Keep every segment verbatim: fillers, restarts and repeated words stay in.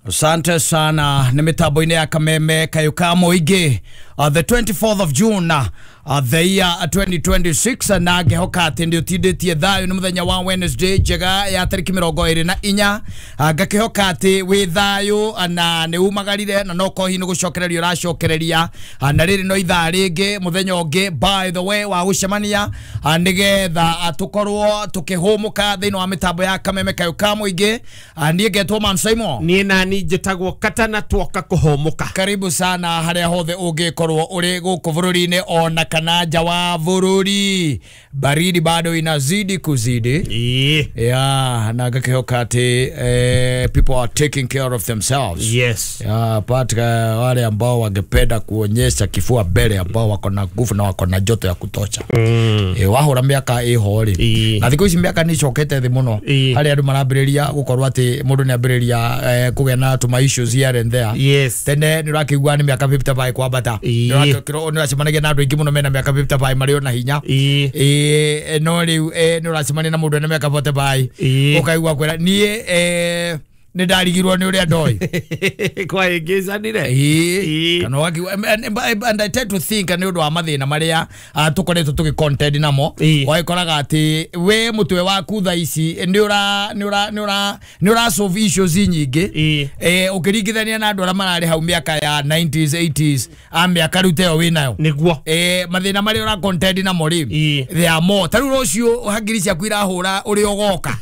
Asante sana nĩ mĩtambo-inĩ ya Kameme Kayũ ka Mũingĩ, uh, the twenty-fourth of June, uh, the year twenty twenty-six, na ngĩhoka atĩ nĩ ũtindĩtie thayũ. Nĩ mũthenya wa Wednesday njega ya tarĩki mĩrongo ĩrĩ na inya. uh, ngakĩhoka atĩ wĩ thayũ na nĩ umagarire na no kohi nĩ gũcokereria ũracokereria. uh, na rĩrĩ no ithaa rĩngĩ, mũthenya ũngĩ, by the way, wa gũcemania uh, nĩgetha uh, tũkorwo tũkĩhũmũka thĩinĩ wa mĩtambo ya Kameme Kayũ ka Mũingĩ. uh, niĩ ngetwo Man Simon. Niĩ nani njĩtagwo Katana, twoka kũhũmũka. Karibu sana harĩa hothe ũngĩkorwo ũrĩ gũkũ bũrũri-inĩ ona kana nja wa bũrũri. Baridi bado inazidi kuzidi. Ĩĩ. Yeah, na ngakĩhoka atĩ eh, people are taking care of themselves. Yes. Yeah, but uh, wale ambao wangependa kuonyesha kifua mbele, ambao wako na nguvu na wako na joto ya kutosha, mm. e, wahũra mĩaka ĩho rĩ, Ĩĩ. na thikũ ici mĩaka nĩ icokete thĩ mũno, Ĩĩ. harĩa andũ marambĩrĩria gũkorwo atĩ mũndũ nĩ ambĩrĩria eh, kũgĩa na tũma issues here and there. Yes. Tene nĩ ũrakĩigua nĩ mĩaka fifty-five kwambata. Ĩĩ. Nĩ ũracemanagia na andũ aingĩ mũno mena mĩaka fifty-five marĩ ona hinya. Ĩĩ. Ĩĩ, no rĩu eh, nĩ ũracemania na mũndũ ena mĩaka forty-five, Ĩĩ. ũkaigua kwĩra niĩ eh, nĩ ndarigirwo nĩ ũrĩa ndoĩ. Kwa ĩngĩcanire. Ĩĩ. Ĩĩ. Kana ũgakiuga, and, and, and I tend to think nĩ ũndũ wa mathĩna marĩa uh, tũkoretwo tũgĩ contend namo. Ĩĩ. Ũgagĩkoraga atĩ we mũtwe waku thaa ici nĩ ũra nĩ ũra nĩ ũra nĩ ũra solve issues nyingĩ, Ĩĩ. eh, ũkĩringithania na andũ arĩa mararĩ hau mĩaka ya nineties, eighties, a mĩaka rĩu ta ĩyo wĩnayo. Nĩguo. eh, mathĩna marĩa ũra contend namo rĩ, Ĩĩ. they are more. Ta rĩu rũciũ hangiri ciaku irahũra ũrĩa ũgoka.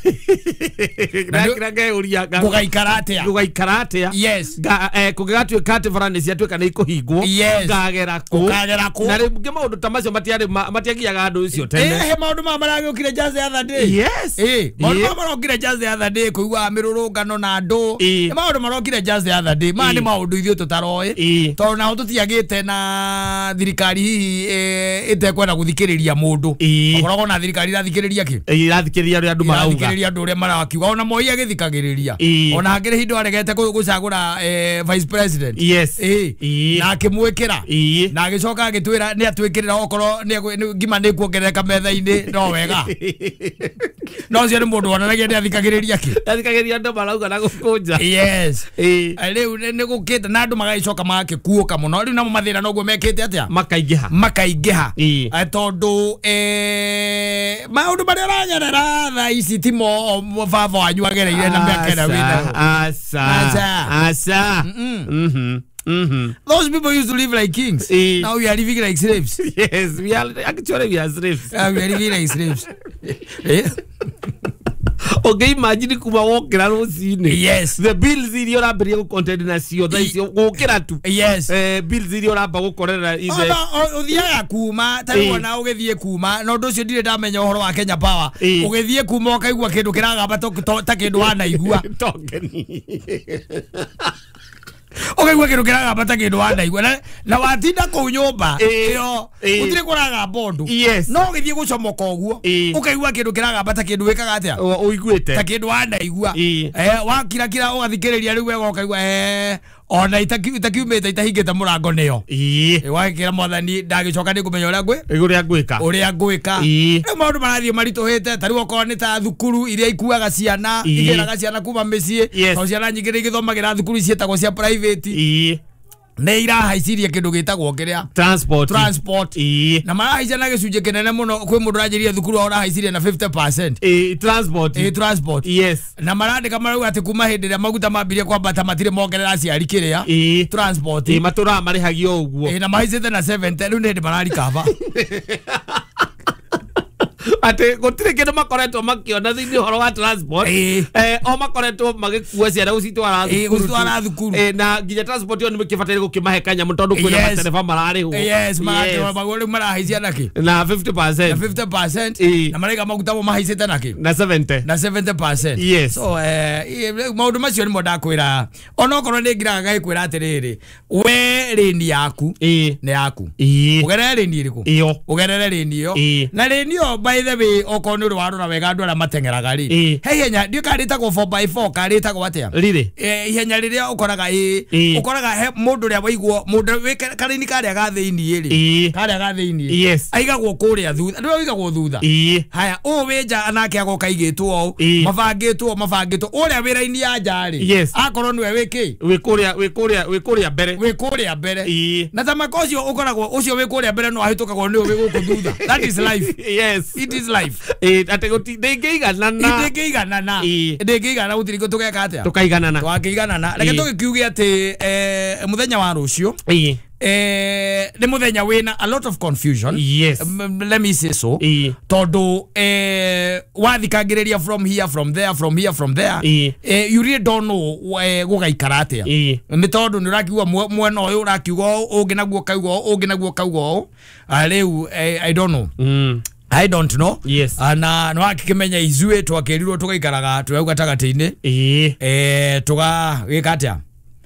Na nĩ- ngeuria gũgaikara atĩa? Gũgaikara atĩa? Yes. Nga- eh, kũngĩgatuĩka atĩ bara nĩ ciatuĩka nĩ ikũhingwo, Yes. ngagera kũ? Ũkagera kũ? Na rĩngĩ maũndũ ta macio matiarĩ ma- matiagiaga andũ ũcio tene. Eh, he maũndũ maya maragĩũkire just the other day. Yes. Eh, maũndũ Ĩĩ. maya marokire just the other day, kũigua mĩrũrũngano na andũ. Ĩĩ. Nĩ maũndũ marokire just the other day. Maya nĩ Ĩĩ. maũndũ ithuĩ tũtaroĩ, Ĩĩ. tondũ naho tũtiagĩte na thirikari hihi eh, ĩtekwenda gũthikĩrĩria mũndũ. Ĩĩ. Ũkoragwo na thirikari irathikĩrĩria kĩ? Ĩrathikĩrĩria ũrĩa andũ marauga. Irathikĩrĩria andũ ũrĩa marakiuga. Ona Moi agĩthikagĩrĩria, Ĩĩ. ona hakĩrĩ hindo aregete kũ- gũcagũra eh, vice president. Yes. Ĩĩ. Ĩĩ. Na akĩmwĩkĩra, Ĩĩ. na agĩcoka agĩtwĩra nĩ atwĩkĩrĩra okorwo nĩ egũ- nĩ- ngima nĩ kuongerereka metha-inĩ. No wega, no ũcio nĩ mũndũ wonanagia nĩ athikagĩrĩria kĩ? Athikagĩrĩria andũ marauga na gũkũnja. Yes. Ĩĩ. Eh, rĩu nĩ nĩ gũkĩte na andũ magagĩcoka magakĩkuũka mũno. Rĩu namo mathĩna noguo mekĩte atĩa? Makaingĩha. Makaingĩha. Ĩĩ. Eh, tondũ eh, maũndũ marĩa ũragerera thaa ici timo baba wanyu agereire na mĩaka ĩrĩa wĩnayo. Aca. Aca. Aca. Mhm. Mhm. Those people used to live like kings. Ĩĩ. Now we are living like slaves. Yes, we are actually, we are slaves. Uh, we are living like slaves. Eh? Ũngĩimagine kuma wokĩra rũcinĩ, Yes. the bills iria ũrambĩrĩria gũcontend nacio thaa icio gũkĩra tu, Yes. eh, bills iria ũramba gũkorera ithe. Ona ũthiaga kuma ta rĩu Ĩĩ. ona ũgĩthiĩ kuma na ũndũ ũcio ndirĩ ndamenya ũhoro wa Kenya Power. Ĩĩ. Ũgĩthiĩ kuma ũkaigua kĩndũ kĩragamba to- to- ta kĩndũ wanaigua. Tokeni. Ũkaigua kĩndũ kĩragamba ta kĩndũ wanaigua na, na watinda kũu nyũmba Ĩĩ. ĩyo Ĩĩ. gũtirĩ kũragamba ũndũ, Yes. no ũgĩthiĩ gũcomoka ũguo, Ĩĩ. ũkaigua kĩndũ kĩragamba ta kĩndũ wĩkaga atĩa? Ũiguĩte. Ta kĩndũ wanaigua. Ĩĩ. eh, wakirakira ũgathikĩrĩria rĩu wega ũkaigua eh, ona itaki- itakiumĩte itahingĩte mũrango nĩyo. Ĩĩ. Wagĩkĩra mwathani ndagĩcoka nĩ kũmenya ũrĩa ngwĩ ũrĩa ngwĩka. Ũrĩa ngwĩka. Ĩĩ. Rĩu maũndũ marathiĩ maritũhĩte. Ta rĩu okorwo nĩ ta thukuru iria ikuaga ciana, Ĩĩ. igĩraga ciana kuma mĩciĩ, Yes. tondũ ciana nyingĩ nĩ igĩthomagĩra thukuru ciĩtagwo cia private, Ĩĩ. nĩ irahaicirie kĩndũ gĩtagwo kĩrĩa? Transport. Transport. Ĩĩ. Na marahaicia na gĩcunjĩ kĩnene mũno. Kwĩ mũndũ ũranjĩrire thukuru wao ũrahaicirie na fifty percent. Ĩĩ, transport. Ĩ, transport. Yes. Na marandĩka marauga atĩ kuma hĩndĩ ĩrĩa maguta mambirie kwambata matirĩ mongerera aciari kĩrĩa? Ĩĩ. Transport. Ĩĩ, matũraga marĩhagio ũguo. Ĩ, na mahaicĩte na seventy. Rĩu nĩ hĩndĩ mararikaba. Atĩ gũtirĩ kĩndũ makoretwo makĩona thĩinĩ ũhoro wa transport. Ĩĩ. eh, o makoretwo magĩkua ciana gũcitwara Ĩĩ, thukuru tu. gũcitwara thukuru. Eh, na nginya transport ĩyo nĩ mĩkĩbataire gũkĩmahe kanyamũ tondũ kwĩna Yes. matereba mararĩhwo. Yes, Yes. maguo rĩu marahaicia nakĩ? Na fifty percent. Na fifty percent. Ĩĩ. Na maraiga maguta mo mahaicĩte nakĩ? Na seventy. Na seventy percent. Yes. So eh, ĩ, maũndũ macio nĩmo ndakwĩra, onokorwo nĩ ngiraga gagĩkwĩra atĩrĩrĩ, we rĩni yaku Ĩĩ. nĩ yaku. Ĩĩ. Ũgerere rĩni ĩrĩkũ? Ĩyo. Ũgerere rĩni ĩyo. Ĩĩ. Na rĩni ĩyo by By the way, okorwo nĩ ũrĩ warora wega andũ arĩa mateng'eraga rĩ, Ĩĩ. he ihenya ndiũ karĩtagwo four by four karĩtagwo atĩa? Rĩrĩ. Eh, ihenya rĩrĩa ũkoraga ĩ Ĩĩ. ũkoraga he mũndũ ũrĩa waigwo mũndũ wĩ karaini karĩa ga thĩiniĩ rĩ, Ĩĩ. karĩa ga thĩiniĩ Yes. aigagwo kũrĩa thutha, nĩwe ũigagwo thutha. Ĩĩ. Haya, ũyũ wĩ nja nake agoka aigĩtwo ũũ, Ĩĩ. mabangĩtwo mabangĩtwo ũrĩa wĩ raini ya nja rĩ, Yes. akorwo nĩwe wĩ kĩ, Wĩ kũrĩa wĩ kũrĩa wĩ kũrĩa mbere. wĩ kũrĩa mbere. Ĩĩ. Na tamaka ũcio ũkoragwo ũcio wĩ kũrĩa mbere no ahĩtũkagwo nĩ ũyũ wĩ gũkũ thutha. That is life. Yes. It is life. Ĩĩ, atĩ gũti ndĩngĩiganana. Ndĩngĩiganana. Ĩĩ. Ndĩngĩiganana gũtirĩ tũgeka atĩa, Tũkaiganana. twakĩiganana. Reke Ĩĩ. tũgĩkiuge atĩ eh, mũthenya wa rũciũ Ĩĩ. eh, nĩ mũthenya wĩna a lot of confusion. Yes. M- let me say so. Ĩĩ. Tondũ eh, wathikangĩrĩria from here, from there, from here, from there, Ĩĩ. eh, you really don't know eh, gũgaikara atĩa. Ĩĩ. Nĩ tondũ nĩ ũrakiuga mwe- mwena ũyũ ũrakiuga ũũ, ũngĩ naguo kauga ũũ, ũngĩ naguo kauga ũũ. Ah, rĩu eh, I don't know. Mm. I don't know. Yes. Ah, na nĩ wakĩmenya ithuĩ twakĩrirwo tũgaikaraga twĩ hau gatagatĩ-inĩ, Ĩĩ. eh, tũgagĩka atĩa?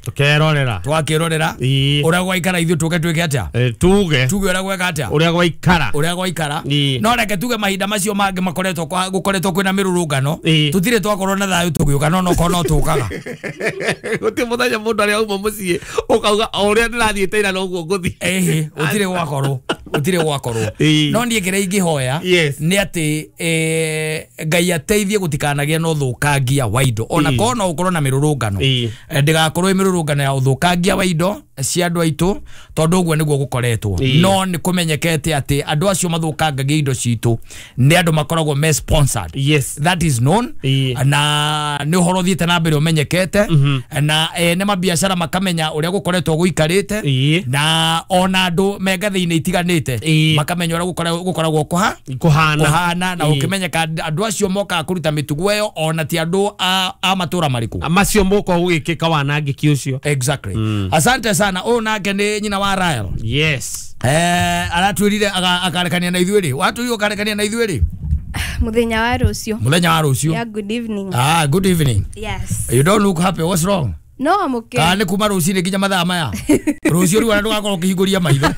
Tũkerorera. Twakĩrorera Ĩĩ. ũrĩa gwaikara ithuĩ tũke twĩke atĩa? Eh, tuge Tuge ũrĩa gweka atĩa, ũrĩa gwaikara. Ũrĩa gwaikara. Ĩĩ. No reke tuge mahinda macio mangĩ makoretwo kwa- gũkoretwo kwĩna mĩrũrũngano, Ĩĩ. tũtirĩ twakorwo na thayũ tũgĩũka, no nokorwo no tũkaga. Gũtirĩ mũthenya mũndũ arĩa auma mũciĩ ũkauga o ũrĩa ndĩrathiĩte ira noguo ngũthiĩ. Ĩhĩ, gũtirĩ gwakorwo, gũtirĩ gwakorwo. Ĩĩ. No niĩ kĩrĩa ingĩhoya Yes. nĩ atĩ eh, Ngai ateithie gũtikanagĩe na ũthũkangia wa indo, ona Ĩĩ. korwo no ũkorwo na mĩrũrũngano. Ĩĩ. Eh, ndĩgakorwo ĩ mĩrũrũngano ya ũthũkangia wa indo cia andũ aitũ, tondũ ũguo nĩguo gũkoretwo. Ĩĩ. No nĩ kũmenyekete atĩ andũ acio mathũkangagia indo citũ nĩ andũ makoragwo me sponsored. Yes. That is known. Ĩĩ. Na nĩ ũhoro ũthiĩte na mbere ũmenyekete, na ene mabiacara makamenya ũrĩa gũkoretwo gũikarĩte, Ĩĩ. na ona andũ me ngathĩ-inĩ itiganĩte Ĩĩ. makamenya ũrĩa gũkora- gũkoragwo kũha Kũhana. kũhana, na Ĩĩ. ũkĩmenyeka andũ acio mokaga kũruta mĩtugo ĩyo ona ti andũ a, a matũra marĩkũ Macio moka gũgĩkĩka wanangĩki ũcio. Exactly. Asante sana. Ũyũ nake nĩ nyina wa Rael. Yes. Eh, aratwĩrire aga- akarekania na ithuĩ rĩ, watwĩrire ũkarekania na ithuĩ rĩ? Muthenya wa rũciũ. Mũthenya wa rũciũ. Yeah, good evening. Ah, good evening. Yes. You don't look happy. What's wrong? No, I'm okay. Kana nĩ kuma rũcinĩ nginya mathaa maya rũciũ rĩu ona ndũgakorwo ũkĩhingũria maitho.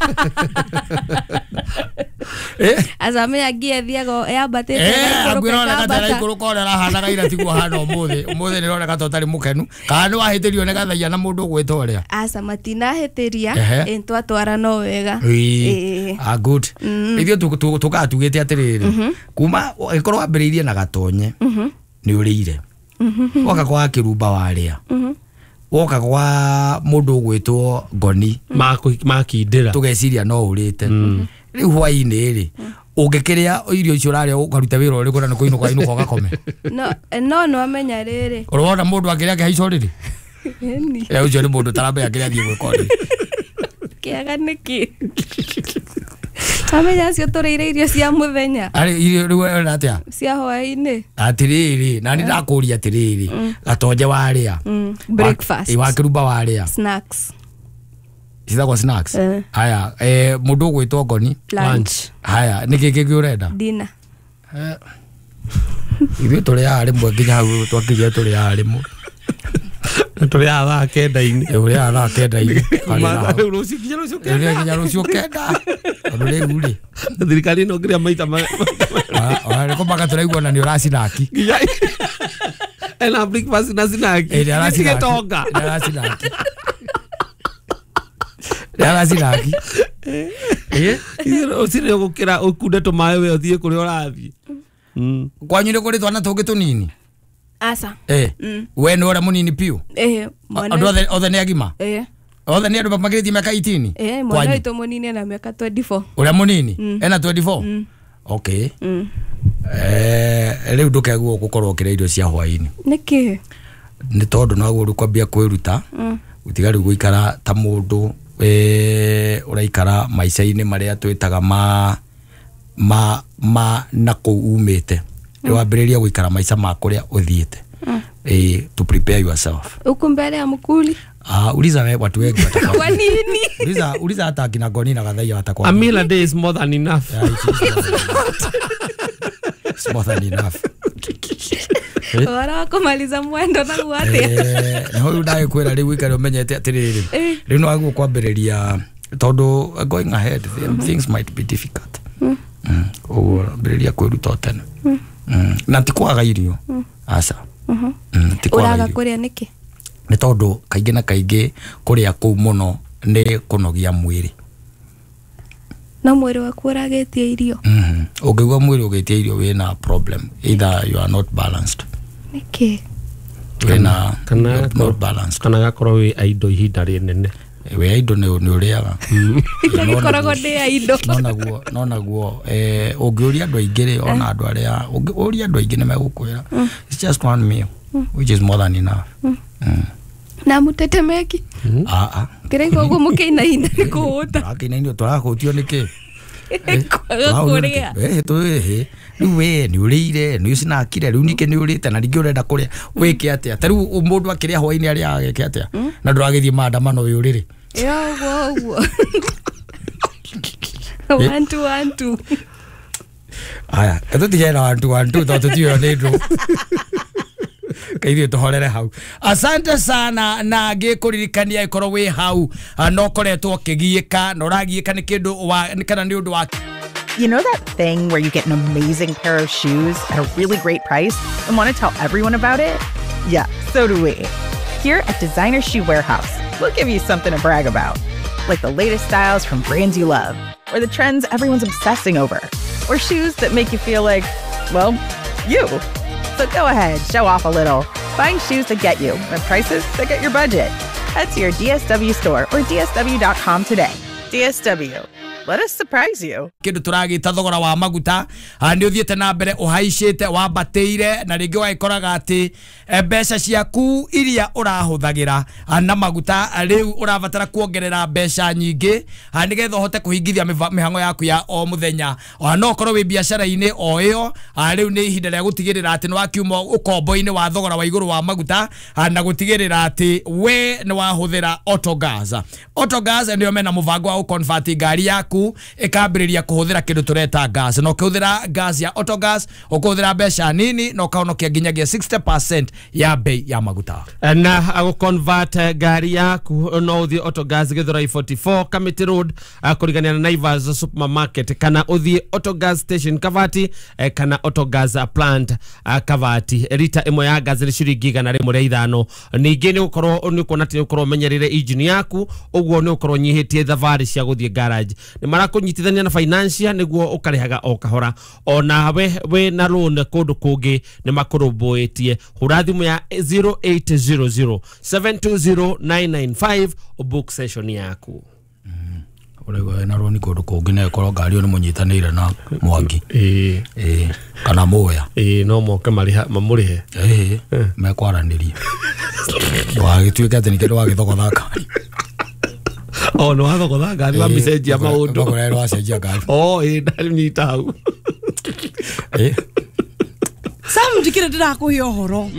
Eh? Azamenya ngie thiaga yambatĩte Eh, ĩgaikũrũka, akwĩra oneka ta ĩkambata. ĩraikũrũka ũrĩa ũrahanaga ira tiguo hana ũmũthĩ. Ũmũthĩ nĩ ũroneka ta ũtarĩ mũkenu, kana nĩ wahĩtĩrio nĩ gathaia na mũndũ ũgwĩta ũrĩa? Aca, matinahĩtĩria. Ehe. Ĩ, twatwara no wega. Ĩĩ. Ĩĩ. Ah, good. Ithuĩ tũ- tũ- tũkaga tugĩte atĩrĩrĩ, kuma ĩkorwo wambĩrĩirie na gatonye nĩ ũrĩire, woka kwa kĩrumba warĩa, woka kwa mũndũ ũgwĩtwo ngoni Makũ- makindĩra. Tũgeciria no ũrĩte. Rĩu hwainĩ rĩ, ũngĩkĩrĩa irio icio ũrarĩa ũkaruta wĩra ũrĩkũ na nĩ kũinũka inũka ũgakome? No, no nĩwamenya rĩrĩ. Ũrona mũndũ akĩrĩa akĩhaica ũrĩrĩ? Ĩni. Eh, ũcio nĩ mũndũ ũtaramenya kĩrĩa athiĩ gwĩka ũrĩrĩ. Kĩaga nĩkĩ? Wamenya acio tũrĩire irio cia mũthenya. Arĩ irio rĩu ũrona atĩa? Cia hwaĩ-inĩ. Atĩrĩrĩ, na nĩ ndakũria atĩrĩrĩ, gatonje warĩa, Mm, breakfast. Wa- wakĩrumba warĩa. Snacks. Citagwo snacks. Eh. Haya, eh, mũndũ ũgwĩtwo ngoni? Lunch. Haya, nĩkĩ kĩngĩ ũrenda? Dinner. Eh, ithuĩ tũrĩaga rĩmwe nginya hau twakinyire tũrĩaga rĩmwe. Tũrĩaga thaa kenda-inĩ. Eh, ũrĩaga thaa kenda-inĩ. Kuma rĩu rũciũ nginya rũciũ Rĩu kenda. nginya rũciũ kenda, tondũ rĩu rĩ Thirikari ĩno ngĩrĩa maita ma- ona nĩ kũmaka tũraigua na nĩ ũracinaki. Nginya ena breakfast na snack. Eh, nĩ aracinaki. Gĩtonga. Nĩ aracinaki, nĩ aracinaki. Eh? Rũcinĩ ũgũkĩra ũkunde tũmaĩ we ũthiĩ kũrĩa ũrathiĩ. Mm. Kwanyu nĩ kũrĩ twana tũngĩ tũnini? Aca. Eh, we nĩ ũrĩa mũnini piũ? Ĩĩ, mwana. Andũ othe othe nĩ agima? Ĩĩ. Othe nĩ andũ makĩrĩtie mĩaka eighteen? Ĩĩ, mwana Kwanyu? witũ mũnini ena mĩaka twenty-four. Ũrĩa mũnini ena twenty-four? Okay. Mm. Eh, rĩu ndũkeguo gũkorwo ũkĩrĩa irio cia hwaĩ-inĩ. Nĩkĩ? Nĩ tondũ noguo rĩu kwambia kwĩruta gũtiga rĩu gũikara ta mũndũ eh, ũraikara maica-inĩ marĩa twĩtaga ma ma ma na kũu umĩte. Rĩu wambĩrĩria gũikara maica ma kũrĩa ũthiĩte, eh, to prepare yourself. Huku mbele ya mkuli. Ah, uliza we watu wengi watakwambia. Kwa nini? Uliza, uliza hata akina Goni na Gathaia A watakwambia. meal a day is more than enough. Yeah, it is more than enough. It's more than enough. Ũhoro wa kũmaliza mwendo naguo atĩa? Eh, na ũyũ ndagĩkwĩra rĩu ũikare ũmenyete atĩrĩrĩ, Eh. rĩu no wagĩrĩirwo kwambĩrĩria tondũ going ahead things might be difficult. Ũguo ambĩrĩria kwĩruta o tene. Na ti kwaga irio, aca. Ti kwaga Ũraga irio. kũrĩa nĩkĩ? Nĩ tondũ kaingĩ na kaingĩ kũrĩa kũu mũno nĩ kũnogia mwĩrĩ. No mwĩrĩ waku ũragĩtie irio. Ũngĩigua mwĩrĩ ũgĩtia irio wĩna problem, either you are not balanced. Nĩkĩ? Wĩna Kana not balanced. Kana gakorwo wĩ indo ihinda rĩnene. Wĩ indo nĩ ũrĩaga. Ngĩkoragwo ndĩ a indo. No naguo no naguo eh ũngĩũria andũ aingĩ rĩ, ona andũ arĩa ũngĩũria andũ aingĩ nĩ megũkwĩra it's just one meal which is more than enough. Na mũtetemeki? Ah ah. Ndĩraigua ũguo mũkĩinaina nĩ kũhũta. Tũrakĩinainio tũrakũhũtio nĩkĩ? Kwaga kũrĩa. Eh tũĩ rĩu we nĩ ũrĩire, nĩ ũcinakire, rĩu ningĩ nĩ ũrĩte na ningĩ ũrenda kũrĩa wĩke atĩa? Ta rĩu mũndũ akĩrĩa hwaĩ-inĩ arĩaga ageke atĩa? Na ndũragĩthiĩ maandamano wĩ ũrĩrĩ. Ĩyo ũguo ũguo. One two one two. Aya, tũtigane na one two one two tondũ tũtiũĩ nĩ ndũ. Kaithuĩ tũhorere hau. Asante sana na ngĩkũririkania ĩkorwo wĩ hau no ũkoretwo ũkĩgiĩka na ũragiĩka nĩ kĩndũ wa kana nĩ ũndũ wa. You know that thing where you get an amazing pair of shoes at a really great price and want to tell everyone about it? Yeah, so do we. Here at Designer Shoe Warehouse, we'll give you something to brag about, like the latest styles from brands you love, or the trends everyone's obsessing over, or shoes that make you feel like, well, you. So go ahead, show off a little. Find shoes that get you at prices that get your budget. Head to your D S W store or D S W dot com today. D S W. Let us surprise you. Kindu turagita thogora wa maguta ni uthiete na mbere uhaicite wambatĩire na rĩngĩ wagĩkoraga atĩ mbeca ciaku iria ũrahũthagĩra na maguta rĩu ũrabatara kuongerera mbeca nyingĩ nĩgetha ũhote kũhingithia mĩhang'o yaku ya o mũthenya. No ũkorwo wĩ biacara-inĩ o ĩyo, rĩu nĩ ihinda rĩa gũtigĩrĩra atĩ nĩ wakiuma ũkombo-inĩ wa thogora wa igũrũ wa maguta na gũtigĩrĩra atĩ we nĩ wahũthĩra Autogas. Autogas nĩo mena mũbango wa gũconvert ngari yaku ĩkambĩrĩria kũhũthĩra kĩndũ tũreta gas, na ũkĩhũthĩra gas ya Autogas ũkũhũthĩra mbeca nini na ũkahonokia nginyagia sixty percent ya bei ya maguta. Na agũconvert ngari yaku no ũthiĩ Autogas Githurai forty-four Kamiti Road kũrigania na Naivas Supermarket, kana ũthiĩ Autogas Station Kavati, kana Autogas Plant Kavati. Rita ĩmwe ya gas nĩ ciringi igana rĩmwe rĩa ithano. Ningĩ nĩ ũkorwo nĩ ũkuona atĩ nĩ ũkorwo ũmenyerire engine yaku, ũguo nĩ ũkorwo ũnyihĩtie thabarĩ cia gũthiĩ garage. Nĩ marakũnyitithania na financial nĩguo ũkarĩhaga o kahora. Ona we wĩ na loan kũndũ kũngĩ nĩ makũrũmbũĩtie. Hũra thimũ ya zero eight zero zero seven two zero nine nine five book session yaku. Ũraigua na loan kũndũ kũngĩ na ĩkorwo ngari ĩyo nĩ mũnyitanĩire na Mwangi. Ĩĩ. Ĩĩ kana Mũya. Ĩĩ no moke marĩha mamũrĩhe. Ĩĩ mekwaranĩria. Ndũgagĩtuĩke atĩ nĩkĩo ndũgagĩthogotha ngari. Oh, no wathogotha ngari wamĩcenjia maũndũ. Ũgakora wacenjia ngari. Oh, ĩĩ ndanyita hau. Ĩĩ. Sam njikire ndirakuhe ũhoro.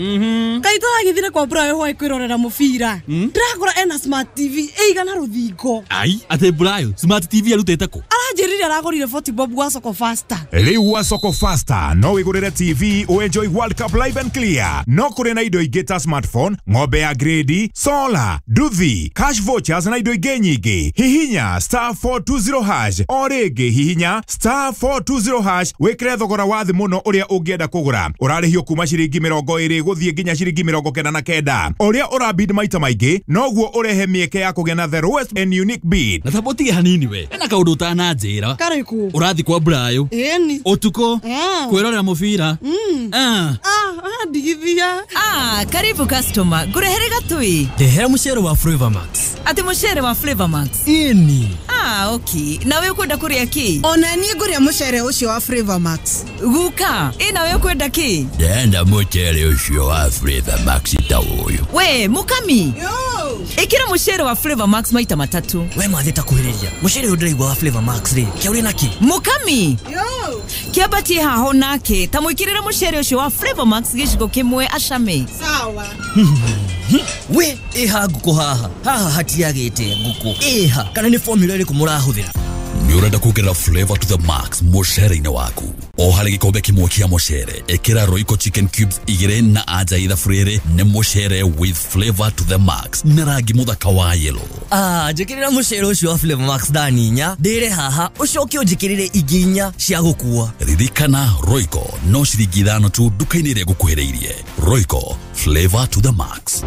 Kai tũragĩthire kwa Brayo hwaĩ kwĩrorera mũbira. Ndĩrakora ena smart T V ĩigana rũthingo. Ai, atĩ Brayo smart T V arutĩte kũ? Aranjĩrire aragũrire forty bob gwa Soko Faster. Rĩu gwa Soko Faster no wĩgũrĩre T V ũenjoy World Cup live and clear. No kũrĩ na indo ingĩ ta smartphone, ng'ombe ya grade, solar, nduthi, cash vouchers na indo ingĩ nyingĩ. Hihinya star four two zero hash o rĩngĩ hihinya star four two zero hash wĩkĩre thogora wa thĩ mũno ũrĩa ũngĩenda kũgũra. Ũrarĩhio kuma ciringi mĩrongo ĩrĩ gũthiĩ nginya ciringi mĩrongo kenda na kenda. Ũrĩa ũrabid maita maingĩ noguo ũrehe mĩeke ya kũgĩa na the lowest and unique bid. Na thabũtige hanini we. Ena kaũndũ ũtananjĩra. Karĩkũ? Ũrathiĩ kwa Brayo. Ĩni. Ũtukũ. Kwĩrorera mũbira. Ah. Ah, ndigithia. Ah, karibu customer. Ngũrehere gatui. Ndehera mũcere wa Flavor Max. Atĩ mũcere wa Flavor Max? Ĩni. Ah, okay. Nawe ũkwenda kũrĩa kĩ? Ona niĩ ngũrĩa mũcere ũcio wa Flavor Max. Guka, ĩ nawe ũkwenda kĩ? Ndenda mũcere ũcio wa Flavor Max ta ũyũ. We, Mukami. Yo. Ĩkĩra mũcere wa Flavor Max maita matatũ. We mathĩ ta kuhĩrĩria. Mũcere ũyũ ndĩraigua wa Flavor Max rĩ, kĩa ũrĩ naki? Mukami. Yo. Kĩambatie haho nake, ta mwĩkĩrĩre mũcere ũcio wa Flavor Max gĩciko kĩmwe acame. Sawa. We, ĩha ngũkũ haha. Haha hatiagĩte ngũkũ. Ĩha, kana nĩ formula ĩrĩkũ mũrahũthĩra? Nĩ ũrenda kuongerera flavor to the max mũcere-inĩ waku? O harĩ gĩkombe kĩmwe kĩa mũcere, ĩkĩra Royco chicken cubes igĩrĩ na anja ithabu rĩrĩ nĩ mũcere with flavor to the max na rangi mũthaka wa yellow. Ah, njĩkĩrĩra mũcere ũcio wa Flavor Max thani inya ndĩre haha, ũcoke ũnjĩkĩrĩre ingĩ inya cia gũkua. Ririkana, Royco no ciringi ithano tu nduka-inĩ ĩrĩa ĩgũkuhĩrĩirie. Royco, flavor to the max.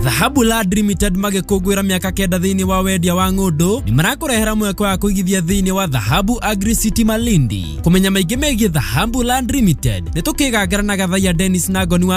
Dhahabu Land Limited magĩkũngũĩra mĩaka kenda thĩinĩ wa wendia wa ng'ũndũ, nĩ marakũrehera mweke wa kũigithia thĩinĩ wa Dhahabu Agri City Malindi. Kũmenya maingĩ megiĩ Dhahabu Land Limited, nĩ tũkĩgangara na Gathaiya Dennis na Ngoni wa